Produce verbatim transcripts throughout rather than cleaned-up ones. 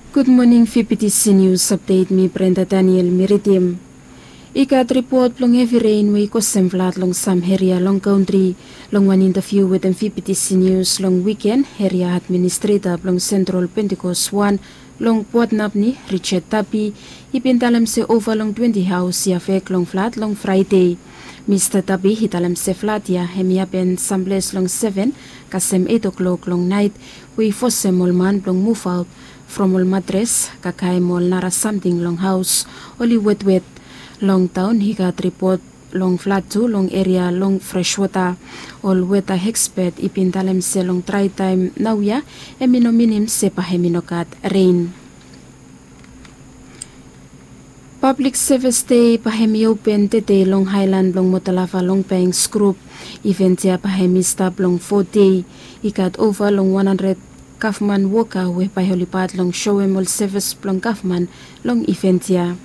Gud moning, fifty senius apdet, mi Brenda Daniel mi ridim. I gat ripot blong hevi ren we i kosem flat long sam eria long kantri. Long wan intaviu wetem fifty senius long wiken, eria administreta blong sentral Pentikos wan long Puatnapni, Richard Tapi, i bin talem se ova long twenti haos i afek long flat long Fraede. Mista Tapi i talem se flat ya hem i hapen samples long seven kasem eit o'klok long naet, we i fosem ol man blong muvaot from ol matres, kakae mo ol nara samting long haos oli wetwet. Long taon i gat ripot long flat tu long eria long Freswota. Ol weta ekspet i bin talem se long drae taem naoia, hem i no minim se bae hem i no gat ren. Pablik Sevis Dei bae hem i open tede long haelan blong Motalava long Banks grup. Iven ya bae hem i stap long fo dei. I gat ova long wan handred gavman woka we bae oli pat long soem ol sevis blong gavman long iven ya.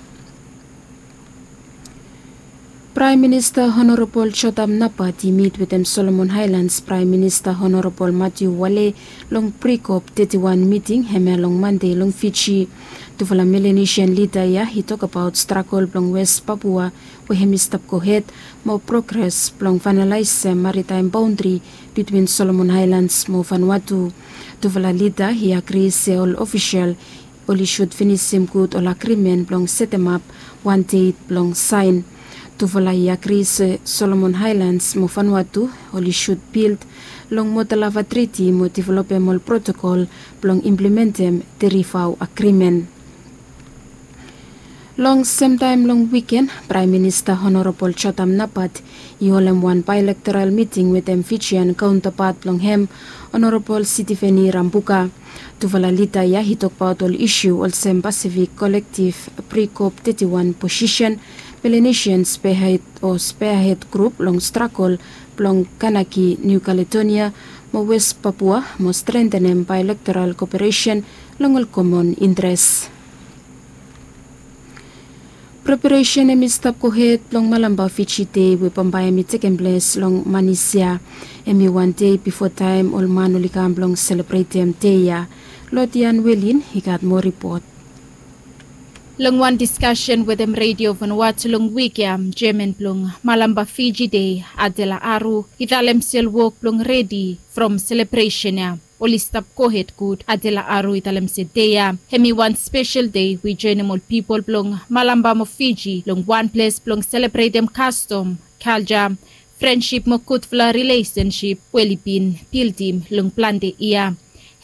Praem Minista Honorabol Jotam Napat i mit wetem Solomon Haelans Praem Minista Honorabol Matiu Wale long Prikop teti wan miting hemia long Mande long Fiji. Tufala Melanesian lida ya i tokbaot stragol blong Wes Papua, we hem i stap gohed, mo progres blong faenalaesem maritaem baondri bitwin Solomon Haelans mo Vanuatu. Tufala lida i agri se ol ofisel oli sud finisim gud ol agrimen blong setemap wan det blong saen. Tufala i agri se Solomon Haelans mo Vanuatu oli sud bild long Motalava Triti mo developem ol protokol blong implementem Derivao Agrimen. Long semtaem long wiken, Praem Minista Honorabol Jotam Napat i holem wan baelektoral miting wetem Fijian kaontapat blong hem, Honorabol Sitiveni Rambuka. Tufala lida ya i tokbaot ol isu olsem Pasifik Kolektiv Prikop teti wan posisen, Melanesian Spearhead o Spearhead Grup long stragol blong Kanaki Niu Kaledonia mo Wes Papua mo strentenem baelektoral koperesen long ol komon intres. Preparesen hem i stap gohed blong Malampa Fiji Dei we bambae hem i tekem ples long Manisia. Hem i wan dei bifo taem ol man oli kam blong selebretem dei ya. Lodian Welin i gat moa ripot. Long wan diskasen wetem Redio Vanuatu long wik ya, jeaman blong Malampa Fiji Dei, Adela Aru, i talem se ol wok blong redi from selebresen ya oli stap gohed gud. Adela Aru i talem se dei ya hem i wan spesel dei we i joenem ol pipol blong Malampa mo Fiji long wan ples blong selebretem kastom, kalja, frensip mo gudfala rilesensip we oli bin bildim long plante yia.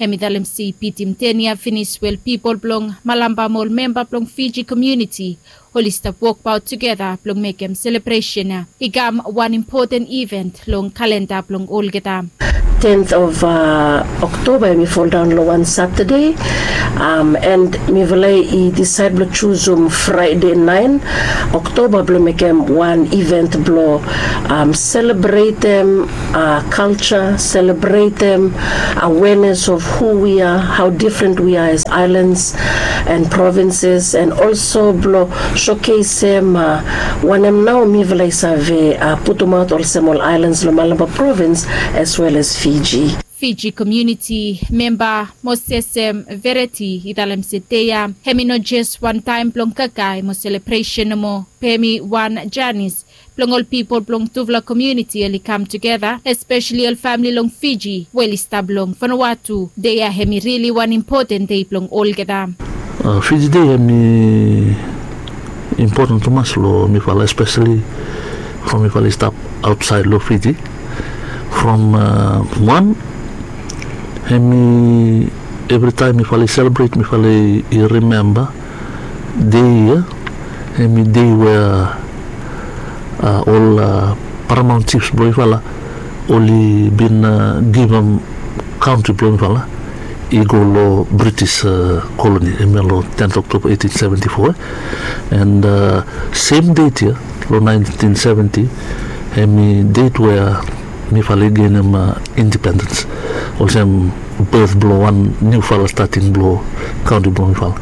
Hem i talem se i bitim ten yia finis we ol pipol blong Malampa mo ol memba blong Fiji komuniti oli stap wokbaot tugeta blong mekem selebresen ya i kam wan impoten iven long kalenda blong olgeta. Tenth of, uh, October, hem i foldaon long wan Satade, um, and mifala i disaed blong jusum Fraede naen Oktoba blong mekem wan iven blong, um, selebretem, uh, kalja, selebretem awareness of who we are, how different we are as islands and provinces, and also blong showcasem, uh, wanem nao mifala i save, uh, putumaot olsem ol aelans long Malampa provins as well as Fiji. Fiji komuniti memba Mosesem Vereti i talem se dei ya hem i no jes wan taem blong kakae mo selebresen nomo, be hem i wan janis blong ol pipol blong tufala komuniti oli kam tugeta, espeseli ol famili long Fiji we oli stap long Vanuatu. Dei ya hem i rili wan impoten dei blong olgeta. Uh, Fiji Dei hem i impoten tumas long mifala, espeseli from mifala i stap aotsaed long Fiji. From, uh, wan, hem i evritaem mifala i selebret, mifala i rimemba dei ya, hem i dei we, uh, ol, uh, paramaon jifs blong mifala oli bin, uh, givim kantri blong mifala i go long British, uh, koloni, hemia long tenth October eighteen seventy-four, eh? And, uh, sem det ya, long nineteen seventy, hem i det we mifala i genem, uh, indipendens, olsem beth blong wan niufala stating blong kantri blong mifala.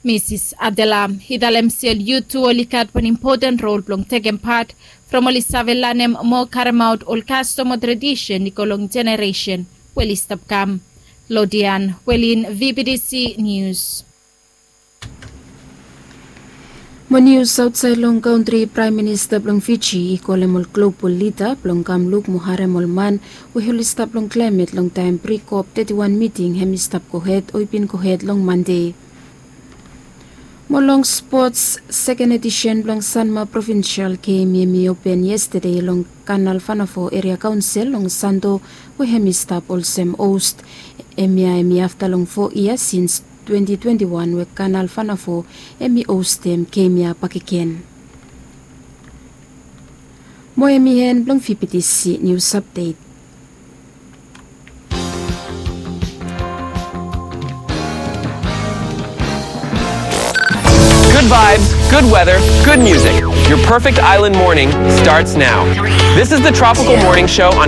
Misis Adela i talem se ol yut tu oli gat wan impoten rol blong tekem pat from oli save lanem mo karemaot ol kastom o tradisen i go long jeneresen we oli stap kam. Lodian Welin, V B T C News. Mo nius aotsaed long kantri, Praem Minista blong Fiji i kolem ol global lida blong kam luk mo harem ol man we oli stap long klaemet long taem pri-kop teti wan miting hem i stap gohed o i bin gohed long Mande. Mo long spots, seken edisen blong Sanma Provinsel Gem hem i open yestade long Kanal Vanafo Eria Kaonsel long Santo, we hem i stap olsem host. Hemia hem i afta long fo yia sins twenti twenti wan we Kanal Vanafo hem i hostem gem ya bakegen. Mo hem i en blong V B T C nius apdet. Good vibes, good weather, good music. Your perfect island morning starts now. This is the Tropical Morning Show on